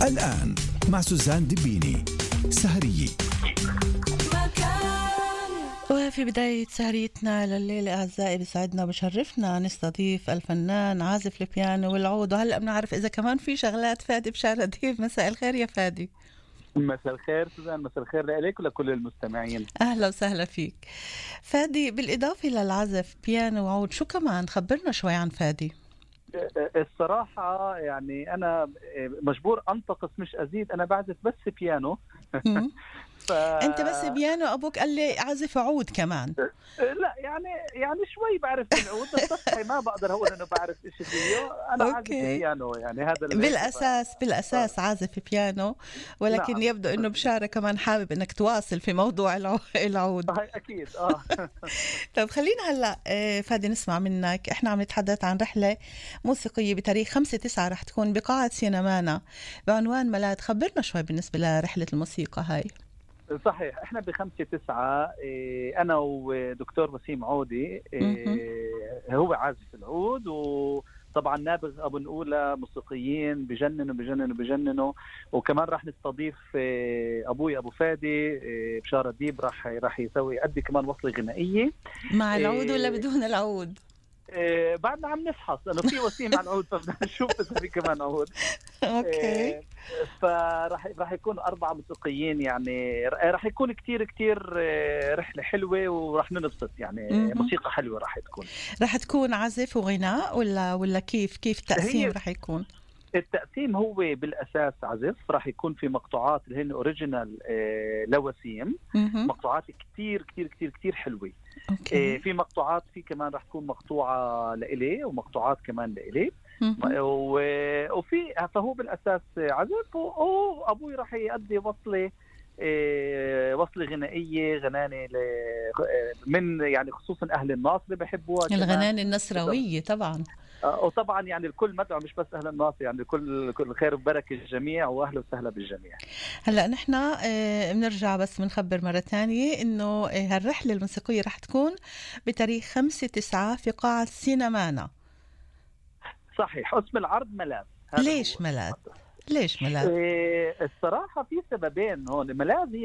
الآن مع سوزان دبيني سهرية. وفي بداية سهريتنا لليلة أعزائي بسعدنا بشرفنا نستضيف الفنان عازف البيانو والعود، وهلأ بنعرف إذا كمان في شغلات فادي بشار أديب. مساء الخير يا فادي. مساء الخير سوزان، مساء الخير لك ولكل المستمعين. أهلا وسهلا فيك فادي. بالإضافة للعزف بيانو وعود، شو كمان؟ خبرنا شوي عن فادي. الصراحة يعني أنا مجبور أنتقص مش أزيد، أنا بعزف بس بيانو. أنت بس بيانو؟ أبوك قال لي عزف عود كمان. لا يعني شوي بعرف العود، بس ما بقدر أقول أنه بعرف إيش فيه. أنا عازف بيانو، يعني هذا بالأساس عازف بيانو، ولكن نعم. يبدو أنه بشارة كمان حابب أنك تواصل في موضوع العود. أكيد. طب خلينا هلأ فادي نسمع منك. إحنا عم نتحدث عن رحلة موسيقية بتاريخ 5/9 رح تكون بقاعة سينمانا بعنوان ملاذ. خبرنا شوي بالنسبة لرحلة الموسيقى هاي. صحيح، احنا ب5/9 انا ودكتور وسيم عودي، هو عازف العود، وطبعا نابغ ابو نقولة موسيقيين بجننوا. وكمان راح نستضيف ابوي ابو فادي بشار أديب، راح يقدم كمان وصلة غنائية مع العود ولا بدون العود؟ بعدنا عم نفحص انه في وسيم على العود، فبدنا نشوف اذا في كمان عود. اوكي. فراح يكون 4 موسيقيين، يعني راح يكون كتير رحلة حلوة، وراح ننبسط يعني. موسيقى حلوة راح تكون عزف وغناء ولا كيف التقسيم راح يكون؟ التقسيم هو بالأساس عزف، راح يكون في مقطوعات اللي هن أوريجينال لوسيم، مقطوعات كتير حلوة. في مقطوعات، في كمان راح تكون مقطوعة لإلي ومقطوعات كمان لإلي، وفي فهو بالأساس عزف، وأبوي راح يؤدي وصلة غنائية، غنانة من يعني خصوصا أهل الناصر بحبوها، الغنانة النصراوية طبعا. وطبعا يعني الكل مدعو، مش بس أهل الناصر، يعني كل خير وبركة الجميع، وأهلا وسهلا بالجميع. هلأ نحن بنرجع بس بنخبر مرة تانية إنه هالرحلة الموسيقية رح تكون بتاريخ 5/9 في قاعة سينمانا. صحيح، اسم العرض ملاذ. ليش ملاذ؟ الصراحة في سببين هون. ملاذ هي